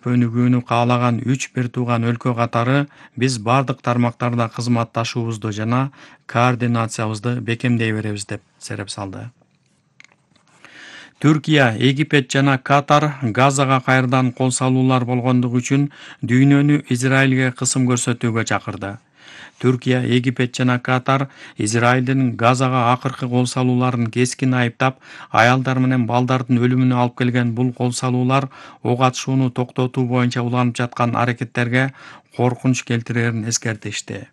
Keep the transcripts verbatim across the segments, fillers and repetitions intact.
өнүгүүнү каалаган үч бир тууган өлкө катары биз бардык тармактарда кызматташуубузду жана координациябызды бекемдей беребиз деп сереп салды. Түркия, Египет жана Катар Газага кайрадан кол салуулар болгондугу үчүн дүйнөнү Израилге кысым көрсөтүүгө чакырды. Түркия, Египет жана Катар Израилдин Газага акыркы кол салууларын кескин айыптап, аялдар менен балдардын өлүмүнө алып келген бул кол салуулар ок атышууну токтотуу боюнча уланып жаткан аракеттерге коркунуч келтирерин эскертишти.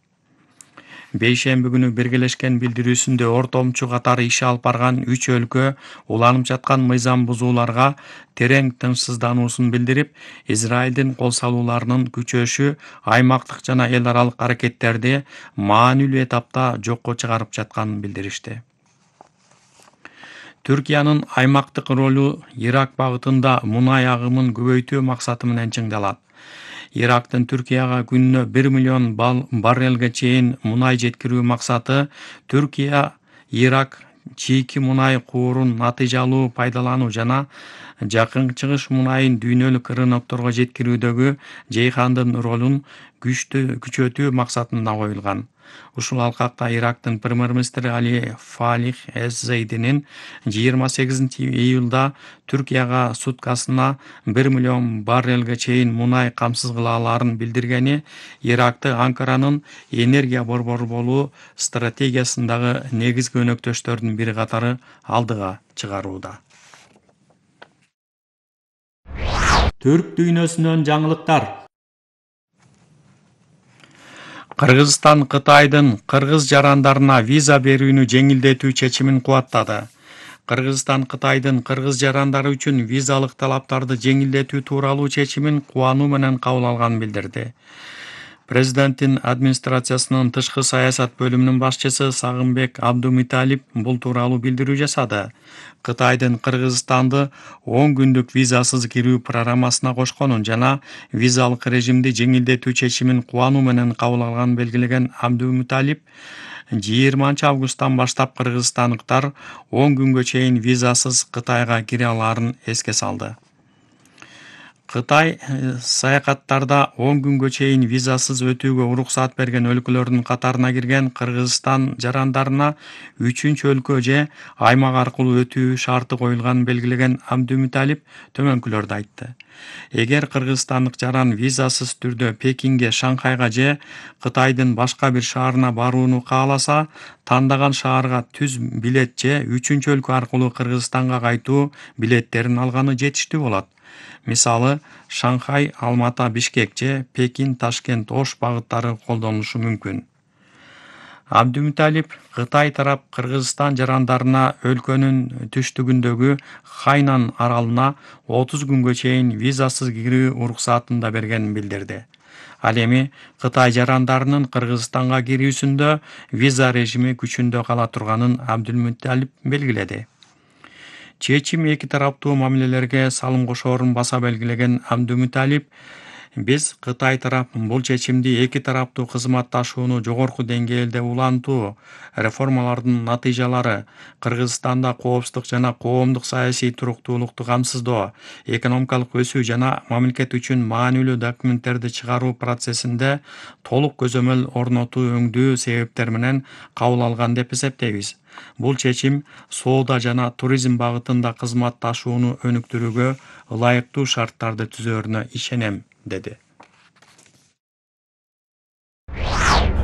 Бейшемби күнү биргелешкен билдирүүсүндө ортомчу катары иш алып барган үч өлкө уланып жаткан мыйзам бузууларга терең тынчсыздануусун билдирип, Израилдин кол салууларынын күчөшү аймактык жана эл аралык аракеттерди маанилүү этапта жокко чыгарып жатканын билдиришти. Түркиянын аймактык ролу Ирак багытында мунай агымын көбөйтүү максаты менен чыңдалат. Ирактын Түркияга күнүнө бир миллион баррелге чейин мунай жеткирүү максаты Түркия, Ирак чийки мунай куурун натыйжалуу пайдалануу жана Жакын Чыгыш мунайын дүйнөлүк рынокторго жеткирүүдөгү Жейхандын ролун күчөтүү максатында коюлган. Ушул алкакта Ирактын премьер-министри Али Фалих эз-Зейдинин жыйырма сегизинчи июлда Түркияга суткасына бир миллион баррелге чейин мунай камсыз кыла алаарын билдиргени Иракты Анкаранын энергия борбору болуу стратегиясындагы негизги өнөктөштөрдүн бири катары алдыга чыгарууда. Түрк дүйнөсүнөн жаңылыктар. Кыргызстан Кытайдын кыргыз жарандарына виза берүүнү жеңилдетүү чечимин кубаттады. Кыргызстан Кытайдын кыргыз жарандары үчүн визалык талаптарды жеңилдетүү тууралуу чечимин кубануу менен кабыл алганын билдирди. Президенттин администрациясынын тышкы саясат бөлүмүнүн башчысы Сагынбек Абдумуталип бул тууралуу билдирүү жасады. Кытайдын Кыргызстанды он күндүк визасыз кирүү программасына кошконун жана визалык режимди жеңилдетүү чечимин кубануу менен кабыл алганын белгилеген Абдумуталип, жыйырманчы августтан баштап кыргызстандыктар он күнгө чейин визасыз Кытайга кире алаарын эске салды. Кытай саякаттарда он күнгө чейин визасыз өтүүгө уруксат берген өлкөлөрдүн катарына кирген Кыргызстан жарандарына үчүнчү өлкө же аймак аркылуу өтүү шарты коюлганын белгилеген Абдумуталип төмөнкүлөрдү айтты. Эгер кыргызстандык жаран визасыз түрдө Пекинге, Шанхайга же Кытайдын башка бир шаарына барууну кааласа, тандаган шаарга түз билет же үчүнчү өлкө аркылуу Кыргызстанга кайтуу билеттерин алганы жетиштүү болот. Мисалы, Шанхай, Алмата, Бишкек же Пекин, Ташкент, Ош багыттары колдонулушу мүмкүн. Абдумуталип Кытай тарап Кыргызстан жарандарына өлкөнүн түштүгүндөгү Хайнан аралына отуз күнгө чейин визасыз кирүү уруксатын да бергенин билдирди. Ал эми Кытай жарандарынын Кыргызстанга кирүүсүндө виза режими күчүндө кала турганын Абдумуталип белгиледи. Чечим эки тараптуу мамилелерге салым кошоорун баса белгилеген Абдумуталип, биз Кытай тарап бул чечимди эки тараптуу кызматташууну жогорку деңгээлде улантуу, реформалардын натыйжалары, Кыргызстанда коопсуздук жана коомдук саясий туруктуулукту камсыздоо, экономикалык өсүү жана мамлекет үчүн маанилүү документтерди чыгаруу процессинде толук көзөмөл орнотуу өңдүү себептер менен кабыл алган деп эсептейбиз. Бул чечим соода жана туризм багытында кызматташууну өнүктүрүүгө ылайыктуу шарттарды түзөөрүнө ишенем, деди.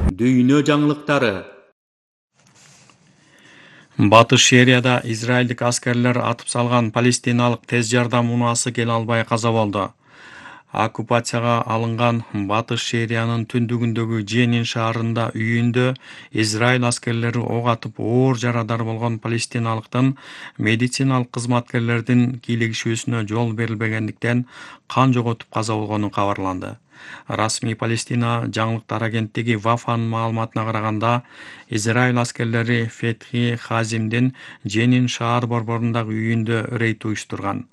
Дүйнө жаңылыктары. Батыш Сирияда израилдик аскерлер атып салган палестиналык тез жардам унаасы келе албай каза болду. Оккупацияга алынган Батыш Сириянын түндүгүндөгү Дженин шаарында үйүндө Израиль аскерлери ок атып оор жарадар болгон палестиналыктын медициналык кызматкерлердин кийлигишүүсүнө жол берилбегендиктен кан жоготуп каза болгону кабарланды. Расмий Палестина жаңылыктар агенттиги Вафанын маалыматына караганда, Израиль аскерлери Фетхи Хазимдин Дженин шаар борборундагы үйүндө рейд уюштурган.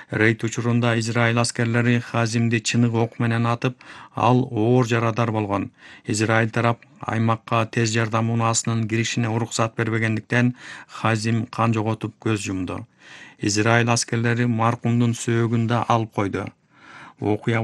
Рейд учурунда Израиль аскерлери Хазимди чыныгы ок менен атып, ал оор жарадар болгон. Израиль тарап аймакка тез жардам унаасынын киришине уруксат бербегендиктен Хазим кан жоготуп көз жумду. Израиль аскерлери маркумдун сөөгүн да алып койду. Окуя